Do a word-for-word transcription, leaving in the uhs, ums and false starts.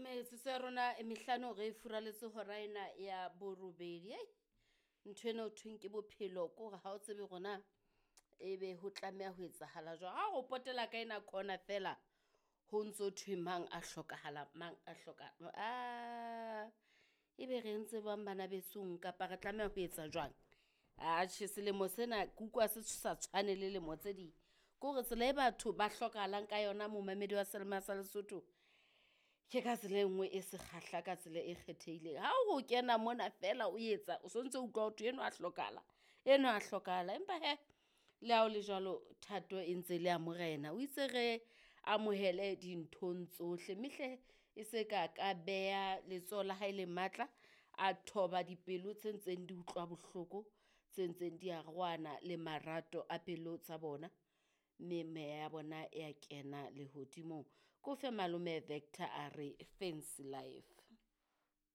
Metsotso ya rona e mehlano re furaletse hora ena ya borobedi. Hei, ntho ena ho thweng ke bophelo ke hore ha o tsebe hore na ebe ho tlameha ho etsahala jwang. Ha o potela ka ena corner feela ho ntso thwe mang a hlokahala, mang a hlokahala. Aa ebe re entse jwang bana besong kapa re tlameha ho etsa jwang? Atjhe selemo sena ke utlwa se sa tshwane le lemo tse ding. Ke hore tsela e batho ba hlokahalang ka yona momamedi wa Selema sa Lesotho, ke ka tsela e nngwe e sekgahla ka tsela e kgethehileng. Ha o kena mona feela o etsa o sontso o utlwa ho thwe enwa a hlokahala, enwa a hlokahala. Empa hee le ha hole jwalo thato e ntse le ya Morena. O itse re amohele dinthong tsohle, mme hle e se ka ka beha letsoho la hae le matla, a thoba dipelo tse ntseng di utlwa bohloko, tse ntseng di arohana le marato a pelo tsa bona, mme meya ya bona ya kena lehodimong. Ke o fe malome Vector a re fancy life.